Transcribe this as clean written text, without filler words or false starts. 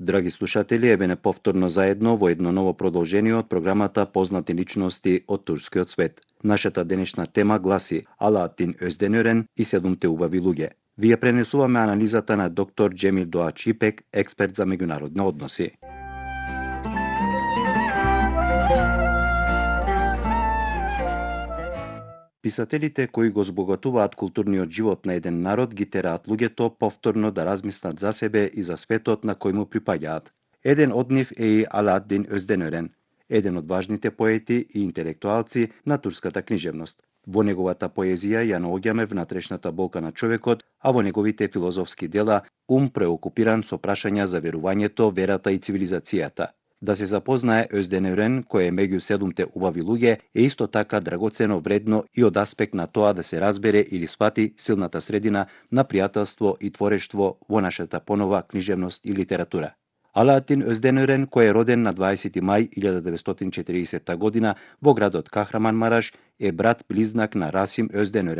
Драги слушатели, еве не повторно заедно во едно ново продолжение од програмата Познати личности од турскиот свет. Нашата денешна тема гласи Алаатин Özdönören и 7 убави луѓе. Вие пренесуваме анализата на доктор Джемил Доач Ипек, експерт за меѓународни односи. Писателите кои го збогатуваат културниот живот на еден народ ги тераат луѓето повторно да размислат за себе и за светот на кој му припаѓаат. Еден од нив е и Алаатин Özdönören, еден од важните поети и интелектуалци на турската книжевност. Во неговата поезија ја наоѓаме внатрешната болка на човекот, а во неговите филозофски дела преокупиран со прашања за верувањето, верата и цивилизацијата. Да се запознае Özdönören, кој е меѓу 7 убави луѓе, е исто така драгоцено вредно и од аспект на тоа да се разбере или свати силната средина на пријателство и творештво во нашата понова книжевност и литература. Алаатин Özdönören, кој е роден на 20 мај 1940 година во градот Кахраманмараш, е брат близнак на Расим Özdönören,